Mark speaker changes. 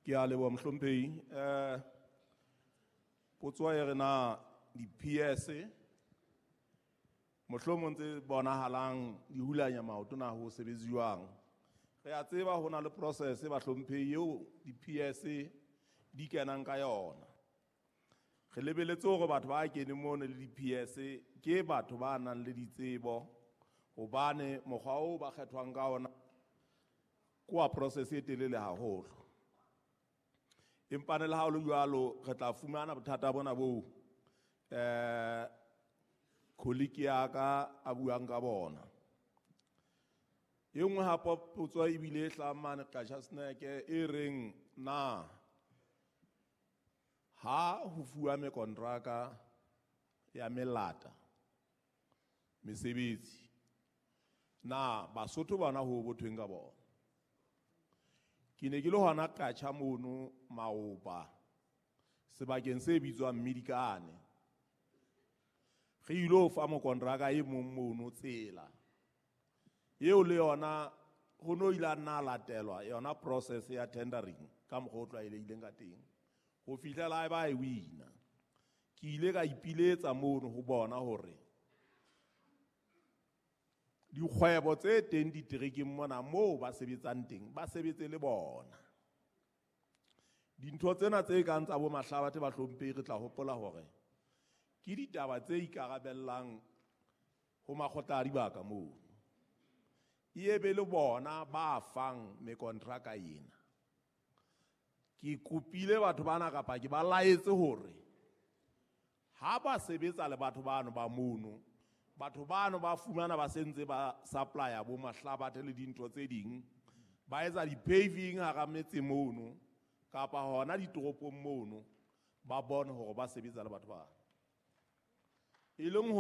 Speaker 1: Ke a leboha mohlomphehi. Potso e re na di-PS mohlomong tse bonahalang di hulanya maoto na ho sebetse jwang. Re a tseba ho na le process bahlomphehi eo di-PS di kenang ka yona. Re lebeletse hore batho ba keneng mono le di-PS ke batho ba nang le ditsebo, hobane mokgwa oo ba kgethwang ka ona ke wa process e telele haholo. Empa le ha ho le jwalo, re tla fumana bothata bona boo colleague ya ka a buang ka bona. E nngwe hape potso ebile e hlahang mane Qacha's Nek e reng na ha ho fuwa mekontraka ya melata mesebetsi, na Basotho bona ho bothweng ka bona? Ke ne ke le hona Qacha mono maoba sebakeng se bitswang Medikane. Re ilo fa mokontraka e mong mono tsela eo le yona ho no ile a nna latelwa yona process ya tendering ka mokgwa o tlwaelehileng ka teng ho fihlela ba e wina. Ke ile ka ipiletsa mono ho bona hore dikgwebo tse teng diterekeng mona moo ba sebetsang teng ba sebetse le bona. Dintho tsena tse kang tsa bo Mahlabathe bahlomphehi, re tla hopola hore ke ditaba tse ikarabellang ho makgotla a dibaka mono. E be le bona ba fang mekontraka ena. Ke kopile batho bana kapa ke ba laetse hore ha ba sebetsa le batho bano ba mono, batho bano ba fumana ba sentse ba supply-a bo Mahlabathe le dintho tse ding, ba etsa di-paving hara metse mono kapa hona ditoropong mono, ba bone hore ba sebetsa le batho bano. E leng